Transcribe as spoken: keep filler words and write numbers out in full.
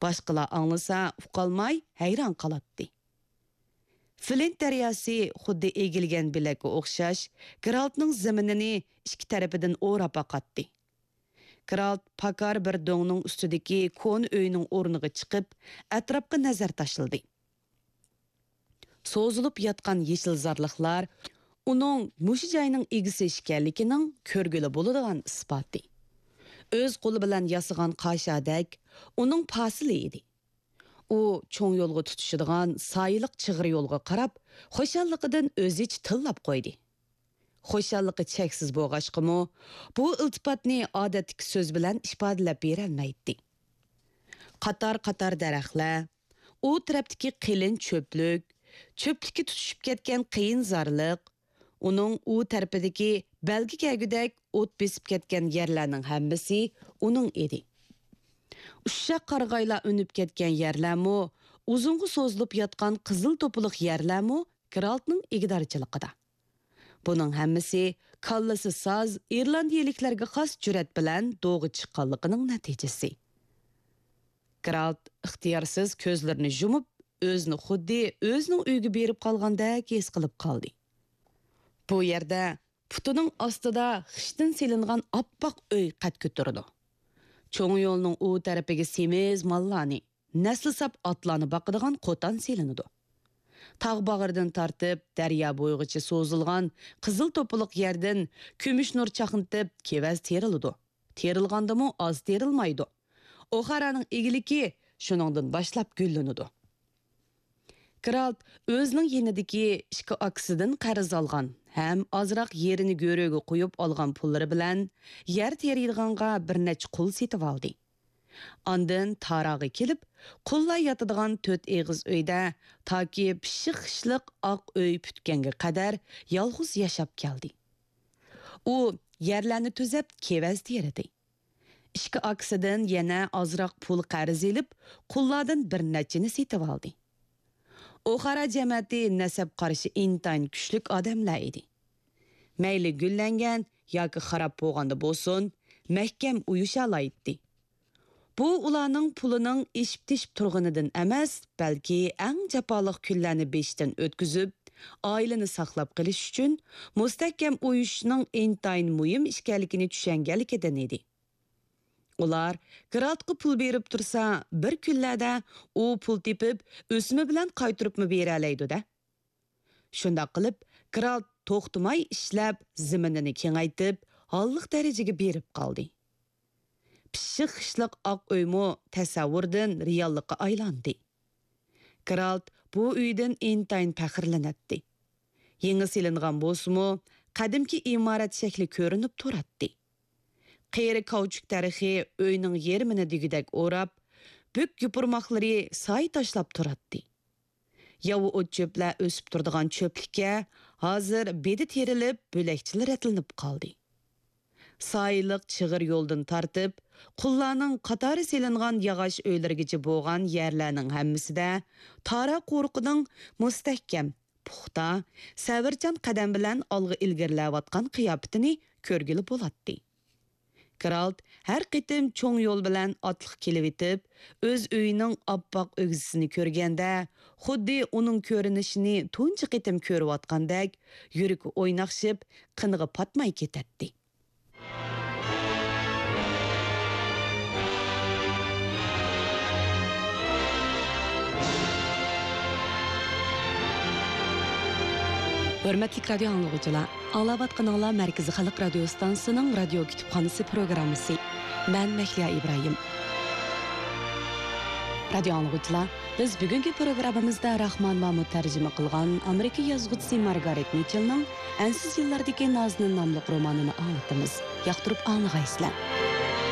باشقىلار ئاڭلىسا، ئۇقالماي ھەيران قالاتتى. فلىنت دەرياسى خۇددى ئېگىلگەن بىلەككە ئوخشاش، گېرالتنىڭ زېمىنىنى ئىككى تەرىپىدىن ئوراپ باقاتتى. گېرالت پاكار بىر دۆڭنىڭ ئۈستىدىكى كونا ئۆينىڭ ئورنىغا چىقىپ، ئەتراپقا نەزەر تاشلىدى. سوزۇلۇپ ياتقان يېشىل زارلىقلار ئۇنىڭ مۇشۇ جاينىڭ ئىگىسى ئىكەنلىكىنىڭ كۆرگىلى بولىدىغان ئىسپاتى. ئۆز قولى بىلەن ياسىغان قاشادەك ئۇنىڭ پاسىلى ئىدى. ئۇ چوڭ يولغا تۇتىشىدىغان سايىلىق چىغىر يولغا قاراپ، خۇشاللىقىدىن ئۆزىچە تىللاپ قويدى. خۇشاللىقى چەكسىز بولغاچقىمۇ، بۇ ئىلتىپاتنى ئادەتتىكى سۆز بىلەن ئىپادىلەپ بېرەلمەيتتى. قاتار-قاتار دەرەخلەر، ئۇ تەرەپتىكى قېلىن چۆپلۈك، چۆپلۈككە تۇتىشىپ كەتكەن قېيىنزارلىق، ئۇنىڭ ئۇ تەرىپىدىكى بەلگە كەلگۈدەك ئوت بېسىپ كەتكەن يەرلەرنىڭ ھەممىسى ئۇنىڭ ئىدى. ئۇششاق قارىغايلار ئۈنۈپ كەتكەن يەرلەرمۇ، ئۇزۇنغا سوزۇلۇپ ياتقان قىزىل توپىلىق يەرلەرمۇ گېرالتنىڭ ئىگىدارچىلىقىدا. بۇنىڭ ھەممىسى كاللىسى ساز ئىرلاندىيىلىكلەرگە خاس جۈرئەت بىلەن دوغا چىققانلىقىنىڭ نەتىجىسى. گېرالت ئىختىيارسىز كۆزلىرىنى يۇمۇپ، ئۆزىنى خۇددى ئۆزىنىڭ ئۆيىگە بېرىپ قالغاندەك ھېس قىلىپ قالدى. بۇ يەردە پۇتىنىڭ ئاستىدا خىشتىن سېلىنغان ئاپئاق ئۆي قەد كۆتۈرىدۇ. چوڭ يولنىڭ ئۇ تەرىپىگە سېمىز ماللارنى، نەسلى ساپ ئاتلارنى باقىدىغان قوتان سېلىنىدۇ. تاغ باغرىدىن تارتىپ دەريا بويىغىچە سوزۇلغان قىزىل توپىلىق يەردىن كۈمۈش نۇر چاقنىتىپ كېۋەز تېرىلىدۇ. تېرىلغاندىمۇ ئاز تېرىلمايدۇ. ئوخارانىڭ ئىگىلىكى شۇنىڭدىن باشلاپ گۈللىنىدۇ. گېرالت ئۆزىنىڭ يېنىدىكى ئىككى ئاكىسىدىن قەرز ئالغان ھەم ئازراق يېرىنى گۆرۈگە قويۇپ ئالغان پۇللىرى بىلەن يەر تېرىيدىغانغا بىر نەچچە قۇل سېتىۋالدى. ئاندىن تاراغا كېلىپ، قۇللار ياتىدىغان تۆت ئېغىز ئۆيدە تاكى پىششىق خىشلىق ئاق ئۆي پۈتكەنگە قەدەر يالغۇز ياشاپ كەلدى. ئۇ يەرلەرنى تۈزەپ، كېۋەز تېرىدى. ئىككى ئاكىسىدىن يەنە ئازراق پۇل قەرز ئېلىپ، قۇللاردىن بىر نەچچىنى سېتىۋالدى. ئوخارا جەمەتى نەسەب قارىشى ئىنتايىن كۈچلۈك ئادەملەر ئىدى. مەيلى گۈللەنگەن ياكى خاراب بولغاندا بولسۇن، مەھكەم ئۇيۇشالايتتى. بۇ ئۇلارنىڭ پۇلىنىڭ ئېشىپ-تېشىپ تۇرغىنىدىن ئەمەس، بەلكى ئەڭ جاپالىق كۈنلەرنى بېشىدىن ئۆتكۈزۈپ، ئائىلىنى ساقلاپ قېلىش ئۈچۈن مۇستەھكەم ئۇيۇشۇشنىڭ ئىنتايىن مۇھىم ئىكەنلىكىنى چۈشەنگەنلىكىدىن ئىدى. ئۇلار گېرالتقا پۇل بېرىپ تۇرسا، بىر كۈنلەردە ئۇ پۇل تېپىپ، ئۆسۈمى بىلەن قايتۇرۇپمۇ بېرەلەيدۇ-دە. شۇنداق قىلىپ، گېرالت توختىماي ئىشلەپ، زېمىنىنى كېڭەيتىپ، ھاللىق دەرىجىگە بېرىپ قالدى. پىششىق خىشلىق ئاق ئۆيمۇ تەسەۋۋۇردىن رېئاللىققا ئايلاندى. گېرالت بۇ ئۆيدىن ئىنتايىن پەخىرلىنەتتى. يېڭى سېلىنغان بولسىمۇ، قەدىمكى ئىمارەت شەكلى كۆرۈنۈپ تۇراتتى. قېرى كاۋچۇك دەرىخى ئۆينىڭ يېرىمىنى دېگۈدەك ئوراپ، بۈك يوپۇرماقلىرى سايە تاشلاپ تۇراتتى. ياۋا ئوت-چۆپلەر ئۆسۈپ تۇرىدىغان چۆپلۈككە ھازىر بېدە تېرىلىپ، بۆلەكچىلەر رەتلىنىپ قالدى. سايىلىق چىغىر يولدىن تارتىپ، قۇللارنىڭ قاتارى سېلىنغان ياغاچ ئۆيلىرىگىچە بولغان يەرلەرنىڭ ھەممىسىدە تارا قورۇقىنىڭ مۇستەھكەم، پۇختا، سەۋرچان قەدەم بىلەن ئالغا ئىلگىرىلەۋاتقان قىياپىتىنى كۆرگىلى بولاتتى. گېرالت ھەر قېتىم چوڭ يول بىلەن ئاتلىق كېلىۋېتىپ، ئۆز ئۆيىنىڭ ئاپئاق ئۆگزىسىنى كۆرگەندە، خۇددى ئۇنىڭ كۆرۈنۈشىنى تۇنجى قېتىم كۆرۈۋاتقاندەك، يۈرىكى ئويناقشىپ، قېنىغا پاتماي كېتەتتى. ھۆرمەتلىك رادىيو ئاڭلىغۇچىلار، ئاڭلاۋاتقىنىڭلار مەركىزىي خەلق رادىيو ئىستانسىسىنىڭ رادىيو كۇتۇپخانىسى پروگراممىسى. مەن مەھلىيا ئىبراھىم. رادىيو ئاڭلىغۇچىلار، بىز بۈگۈنكى پروگراممىمىزدا راخمان مامۇت تەرجىمە قىلغان ئامېرىكا يازغۇچىسى مارگارېت مىچېلنىڭ ئەنسىز يىللاردىكى نازنىن ناملىق رومانىنى ئاڭلىتىمىز. ياقتۇرۇپ ئاڭلىغايسىلەر.